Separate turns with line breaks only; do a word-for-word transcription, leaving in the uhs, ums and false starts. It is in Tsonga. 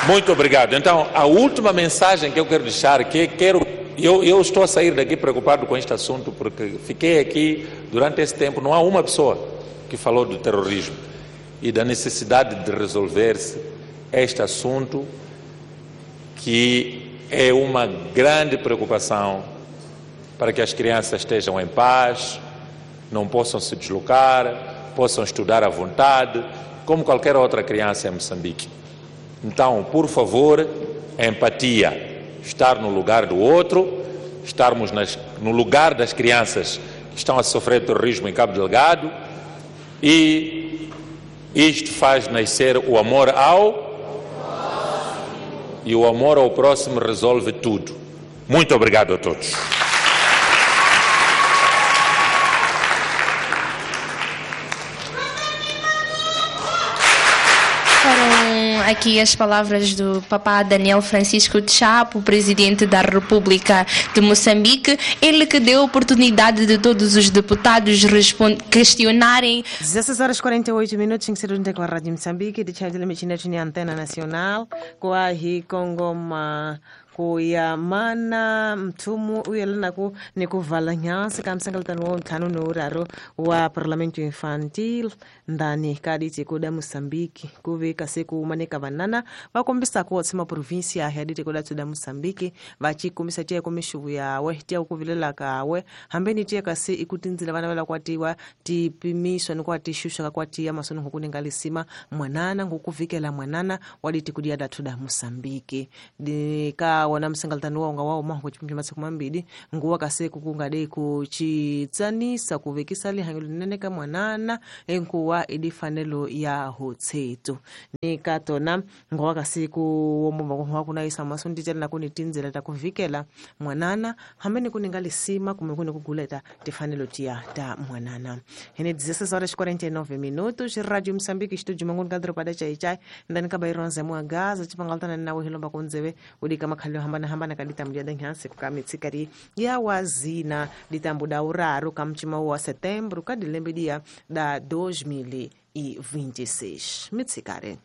Muito obrigado. Então, a última mensagem que eu quero deixar, que quero, eu, eu estou a sair daqui preocupado com este assunto, porque fiquei aqui durante esse tempo, não há uma pessoa que falou do terrorismo e da necessidade de resolver-se este assunto, que é uma grande preocupação para que as crianças estejam em paz, não possam se deslocar, possam estudar à vontade, como qualquer outra criança em Moçambique. Então, por favor, empatia, estar no lugar do outro, estarmos nas, no lugar das crianças que estão a sofrer terrorismo em Cabo Delgado, e isto faz nascer o amor ao e o amor ao próximo resolve tudo. Muito obrigado a todos.
Aqui as palavras do papá Daniel Francisco Chapo, presidente da República de Moçambique, ele que deu a oportunidade de todos os deputados questionarem.
dezesseis horas e quarenta e oito minutos, tem que ser um declarado de Moçambique, de Chadile Antena Nacional, com a Congoma. Kuya mana mthumu uyelanaku ni ku vala nyansi ka msengeletano wa ntlhanu ni wuraru wa Parlamento Infantil ndani ka ditiko da Moçambique ku ve kasi ku manika vanana va kombisa ku tshama província ya ditiko da da Moçambique va ci kombisa tiya ku mixuvu yawe tiya ku vilela kawe hambi ni tiya kasi i ku tindzila vana va la kwatiwa ti pimiswa ni kwa ti xuxa ka kwatiya masoni ku ninga lisima mwanana ngukuvikela mwanana wa ditiko dia da da Moçambique di ka wana msengeletano wa unga wao maho chipimbi masiku mambili nguwa kasi kukungade kuchitsanisa kuvekisa lihanyo linene ka mwanana enkuwa idifanelo ya hotsetu ni katona nguwa kasi kuwomba kuna isa masundi tena kuni tinzela takuvikela mwanana hamene kuninga lisima kumekuni kuguleta tifanelo tia ta mwanana. Hene dezesseis horas e quarenta e nove minutos, Rádio Moçambique, estúdio mangun kadro pada chai chai ndani ka baironze mwa gaza chipangaltana nawe hilomba kunzeve udika makhalio hambana hambana kaditambu ya danhanse kukamitsikari ya wazina ditambu da uraru kamchima wa setembro kadilembe dia da dois mil e vinte e seis. Mitsikare.